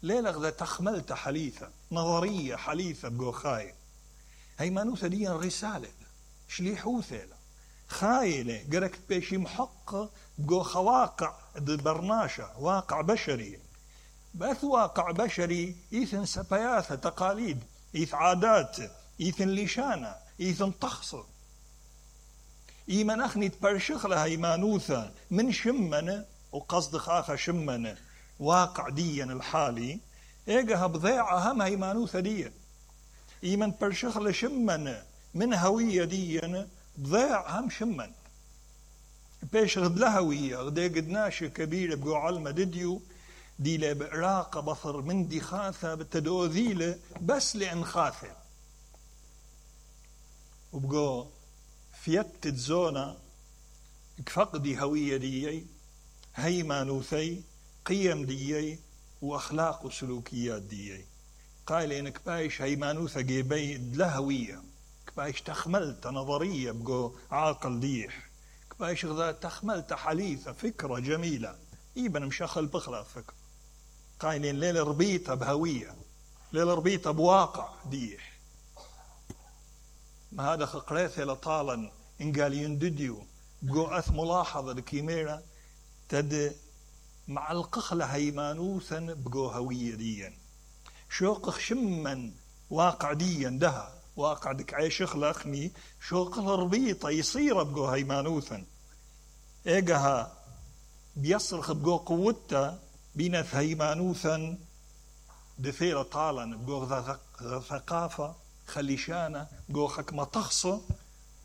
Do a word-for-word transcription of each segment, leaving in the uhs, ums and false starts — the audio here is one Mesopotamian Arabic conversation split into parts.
ليلة غدا تخملت حليثة نظرية حليثة بقو خاي هيمانوثة دي رسالة شليحوثة خايلة قرك بيشي محقة بقو خواقع برناشة واقع بشري بث واقع بشري إيثن سبياثة تقاليد إيث عادات إيثن لشانة إيثن طخصة إيمن أخني تبرشخ لها هيمانوثة من شمنة وقصد خاخة شمنة واقع ديا الحالي إيجها بضيعة هم هيمانوثة ديا إيمن برشخ لشمنة من هوية ديا بضيع هم شمن بيش غد لهوية غدي قدناش كبيرة بقو علمة ديو دي لبعراقة بصر من دي خاثة بتدو ذيلة بس لأن خاثة وبقو فيت تزونا كفقدي هوية ديي هيمانوثي قيم ديي وأخلاق وسلوكيات ديي قال إنك بايش هيمانوثة جيبي لهوية كبايش تخملت نظرية بقو عاقل ديح كبايش غدا تخملت حليثة فكرة جميلة إيبن مشخل بخلا فكرة قايلين ليلة ربيتها بهوية ليلة ربيتها بواقع ديح ما هذا خقريثة لطالا إن قال يندديو بقو أث ملاحظة الكيميرا تد مع القخلة هيمانوثا بقو هوية ديا شوق شمن واقع ديا دها واقع دك عيش خلقني شوق ربيطة يصير بقو هيمانوثا إيجها بيصرخ بقو قوته بينث هيمانوثا دثيرة طالا بقو ثقافة خليشانة بقو حكمة تخصة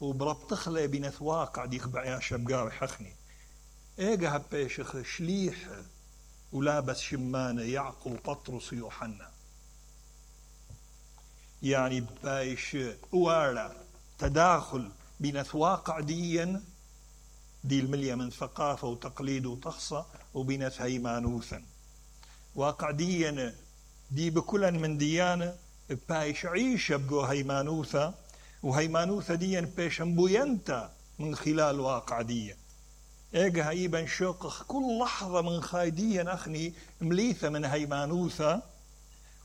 وبربطخلة بينث واقع دي خبعيا شبقاوي حخني إيجها بيشخ شليح ولابس شمانة يعقوب بطرس يوحنا يعني بايش وارا تداخل بين واقع ديا دي المليا من ثقافة وتقليد وتخصة وبين هيمانوثا واقع ديا دي بكل من ديانة بايش عيشة بقو هيمانوثا وهيمانوثا ديا بايش مبوينتا من خلال واقع ديا ايجا هيبا شوق كل لحظة من خايديا أخني مليثة من هيمانوثا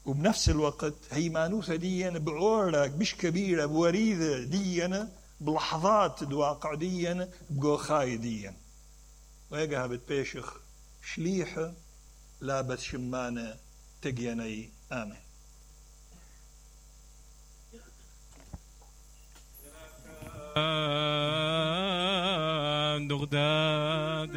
وبنفس الوقت هيمانوثة ديا بعورك بش كبيرة بوريدة ديا بلحظات الواقع ديا بقو خاي ديا ويقها بتبيشخ شليحة لابس شمانة تقيني آمن دغداد